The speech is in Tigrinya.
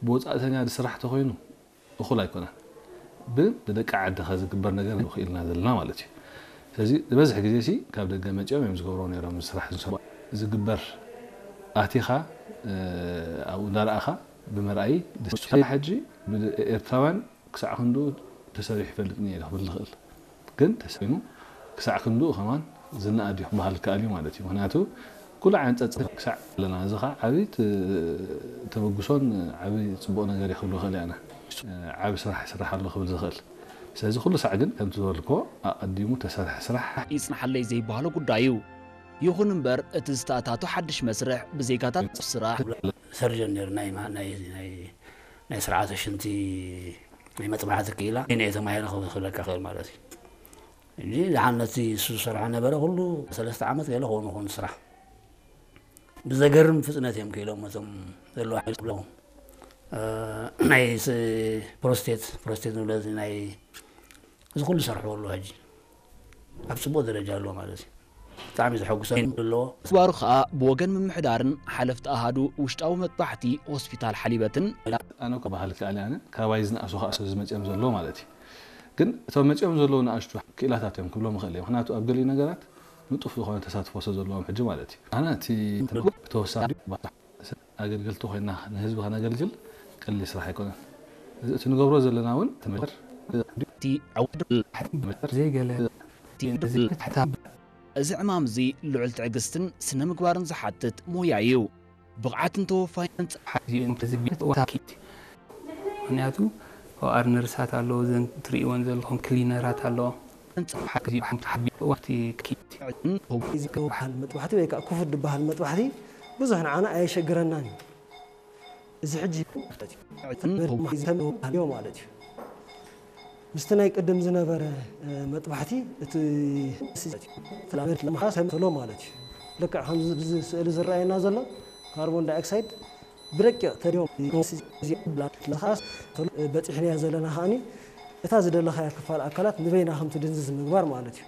ብወፃእተኛ ዝስራሕ ተኮይኑ እኹል ኣይኮነን። ብደቂ ዓድኻ ዝግበር ነገር ንኽኢልና ዘለና ማለት እዩ። ስለዚ ዝበዝሕ ግዜ ሲ ካብ ደገ መፂኦም እዮም ዝገብሮ ነይሮም ስራሕ ዝሰ ዝግበር ኣቲኻ ኣብኡ እንዳረኣኻ ብምርኣይ ደስ ይብል። ሕጂ ኤርትራውያን ክሳዕ ክንድኡ ተሰሪሑ ይፈልጥን እየ ክብል ዝኽእል። ግን ተሰሪኑ ክሳዕ ክንድኡ ከማን ዝነኣድ እዩ ክበሃል ይከኣል እዩ ማለት እዩ። ምክንያቱ ኩሉ ዓይነት ፀፅታ ክሳዕ ኣለና። እዚ ከዓ ዓብዪ ተበግሶን ዓብዪ ፅቡቕ ነገር እዩ ክብሎ ይኽእል እየ ኣነ። ዓብዪ ስራሕ ይስራሕ ኣሎ ክብል ዝኽእል። ስለዚ ኩሉ ሳዕ ግን ከምቲ ዝበልክዎ ኣቐዲሙ ተሰርሐ ስራሕ ይፅንሓለይ ዘይበሃሎ ጉዳይ እዩ። ይኹን እምበር እቲ ዝተኣታቶ ሓድሽ መስርሕ ብዜጋታት ስራሕ ሰርጀን ነይሩ ናይ ናይ ናይ ናይ ስርዓተ ሽንቲ ናይ መጥባሕቲ ክኢላ እኔ ተማሂረ ክብለካ ክእል ማለት እዩ። እንጂ ዝሓን ነቲ እሱ ዝሰርሖ ነበረ ኩሉ ሰለስተ ዓመት ገለ ክኾኑ ይኾኑ ስራሕ ብዘገርም ፍጥነት እዮም ክኢሎም እቶም ዘለዋ ሓይል ክብለዎም ናይ ፕሮስቴት ፕሮስቴት ንብለ ናይ እዚ ኩሉ ሰርሕዎ ኣለዎ ሕጂ ኣብ ፅቡቅ ደረጃ ኣለዎ ማለት እዩ። ብጣዕሚ ዘሐጉሰ ኣለዎ። ስባሩ ከዓ ብወገን ምምሕዳርን ሓለፍቲ ኣሃዱ ውሽጣዊ መጥባሕቲ ሆስፒታል ሓሊበትን ኣነ እኮ ባህል ክኣል ኣነ ካባይ ዝነኣሱ ከዓ ሰብ ዝመፅኦም ዘለዎ ማለት እዩ። ግን እቶም መፅኦም ዘለዉ ንኣሽቱ ክኢላታት እዮም ክብሎም ይኽእል እየ። ምክንያቱ ኣብ ገሊኡ ነገራት ንጡፍ ዝኾነ ተሳትፎ ስለ ዘለዎም ሕጂ ማለት እዩ። ኣነ እቲ ተወሳኺ ኣገልገልቲ ኮይና ንህዝቢ ከነገልግል ቀሊል ስራሕ ኣይኮነን። እዚ እቲ ንገብሮ ዘለና እውን ትምህርቲ እቲ ዕውድል ዘይገለ እዚ ዕማም እዚ ልዑል ትዕግስትን ስነ ምግባርን ዝሓትት ሞያ እዩ። ብቕዓትን ተወፋይነትን ምክንያቱ ኦኣር ነርሳት ኣለዎ፣ እዘን ትርእይወን ዘለኹም ክሊነራት ኣለዎ። በሃል መጥባሕቲ ወይ ከዓ ክፉት ዝበሃል መጥባሕቲ ብዙሕ ንዓና ኣየሸግረናን እዩ። እዚ ሕጂ ማለት እዩ ምስቲ ናይ ቅድም ዝነበረ መጥባሕቲ እቲ ለምሓስ ተሎ ማለት እዩ። ልክዕ ከምዚ ብዚ ስእሊ ዝረኣየና ዘሎ ካርቦን ዳይኦክሳይድ ብረቂቕ ተዲዮም ለምሓስ በፂሕናዮ ዘለና ከዓኒ እታ ዝደለኻያ ክፋል ኣካላት ንበይና ከምቲ ድንዝዝ ምግባር ማለት እዩ።